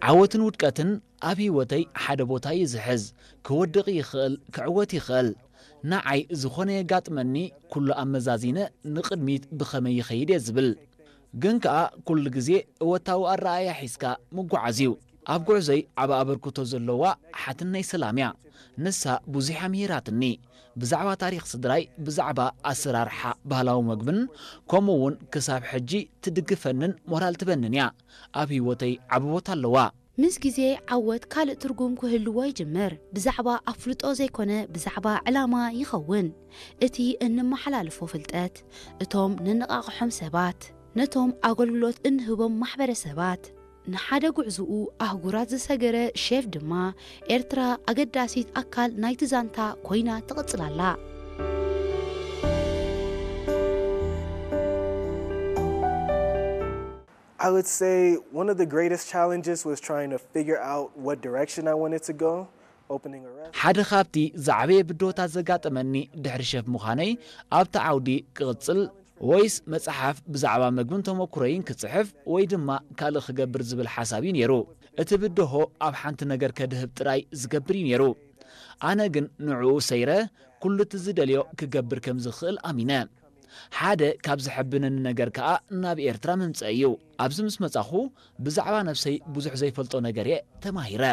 ዓወትን ውድቀትን ኣብ ህይወተይ ሓደ ቦታ እዩ ዝሕዝ። ክወድቕ ይኽእል፣ ክዕወት ይኽእል። ንዓይ ዝኾነ የጋጥመኒ፣ ኩሉ ኣመዛዚነ ንቕድሚት ብኸመይ ይኸይድ እየ ዝብል። ግን ከኣ ኩሉ ግዜ እወታዊ ኣረኣእያ ሒዝካ ምጉዓዝ እዩ። ኣብ ጉዕዞይ ዓቢ ኣበርክቶ ዘለዋ ሓትነይ ሰላም እያ። ንሳ ብዙሕ ኣምሂራትኒ። ብዛዕባ ታሪኽ ስድራይ፣ ብዛዕባ ኣሰራርሓ ባህላዊ መግብን፣ ከምኡ እውን ክሳብ ሕጂ ትድግፈንን ሞራል ትበንን እያ። ኣብ ህይወተይ ዓቢ ቦታ ኣለዋ። ምስ ግዜ ዓወት ካልእ ትርጉም ክህልዎ ይጅምር። ብዛዕባ ኣፍልጦ ዘይኮነ ብዛዕባ ዕላማ ይኸውን። እቲ እንመሓላልፎ ፍልጠት፣ እቶም ንነቓቕሖም ሰባት፣ ነቶም ኣገልግሎት እንህቦም ማሕበረሰባት፣ ንሓደ ጉዕዝኡ ኣህጉራት ዝሰገረ ሼፍ ድማ ኤርትራ ኣገዳሲት ኣካል ናይቲ ዛንታ ኮይና ትቕጽል ኣላ። I would say one of the greatest challenges was trying to figure out what direction I wanted to go, opening a restaurant. ሓደ ካብቲ ዝዓበየ ብድሆታት ዘጋጠመኒ ድሕሪ ሸፍ ምዃነይ ኣብቲ ዓውዲ ክቕጽል ወይስ መጽሓፍ ብዛዕባ መግብን ተመኩሮይን ክጽሕፍ ወይ ድማ ካልእ ክገብር ዝብል ሓሳብ እዩ ነይሩ። እቲ ብድሆ ኣብ ሓንቲ ነገር ከድህብ ጥራይ ዝገብር እዩ ነይሩ። ኣነ ግን ንዕኡ ሰይረ ኩሉ እቲ ዝደልዮ ክገብር ከም ዝኽእል ኣሚነ። ሓደ ካብ ዘሐብነኒ ነገር ከኣ ናብ ኤርትራ ምምጸእ እዩ። ኣብዚ ምስ መጻኹ ብዛዕባ ነብሰይ ብዙሕ ዘይፈልጦ ነገር እየ ተማሂረ።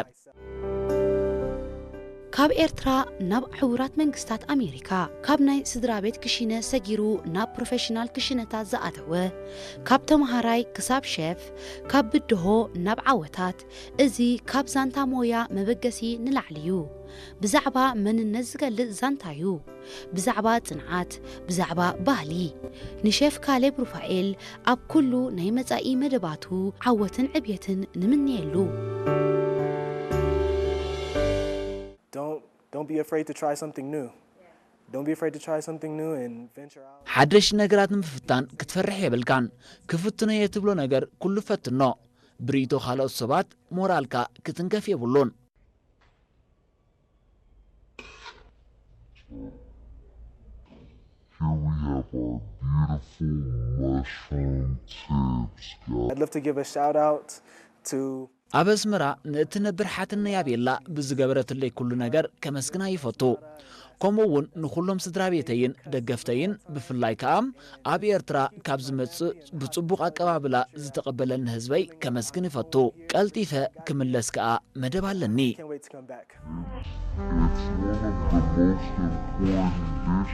ካብ ኤርትራ ናብ ሕቡራት መንግስታት ኣሜሪካ፣ ካብ ናይ ስድራ ቤት ክሽነ ሰጊሩ ናብ ፕሮፌሽናል ክሽነታት ዝኣተወ፣ ካብ ተምሃራይ ክሳብ ሸፍ፣ ካብ ብድሆ ናብ ዓወታት፣ እዚ ካብ ዛንታ ሞያ መበገሲ ንላዕሊ እዩ። ብዛዕባ መንነት ዝገልጽ ዛንታ እዩ። ብዛዕባ ጽንዓት፣ ብዛዕባ ባህሊ። ንሸፍ ካሌብ ሩፋኤል ኣብ ኩሉ ናይ መጻኢ መደባቱ ዓወትን ዕብየትን ንምነየሉ። Don't don't be afraid to try something new. Don't be afraid to try something new and venture out. ሓደሽ ነገራት ንምፍታን ክትፈርሕ የብልካን። ክፍትኖ እየ ትብሎ ነገር ኩሉ ፈትኖ። ብርእይቶ ካልኦት ሰባት ሞራልካ ክትንከፍ የብሉን። Here we have our beautiful mushroom tips, guys. I'd love to give a shout out to ኣብ ኣስመራ ንእትነብር ሓትነይ ኣቤላ ብዝገበረትለይ ኩሉ ነገር ከመስግና ይፈቱ። ከምኡ እውን ንኹሎም ስድራ ቤተይን ደገፍተይን፣ ብፍላይ ከኣ ኣብ ኤርትራ ካብ ዝመጽእ ብጽቡቕ ኣቀባብላ ዝተቐበለኒ ህዝበይ ከመስግን ይፈቱ። ቀልጢፈ ክምለስ ከኣ መደብ ኣለኒ። Can't wait to come back. It's one of the most important dishes that we have.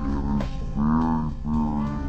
It is very, very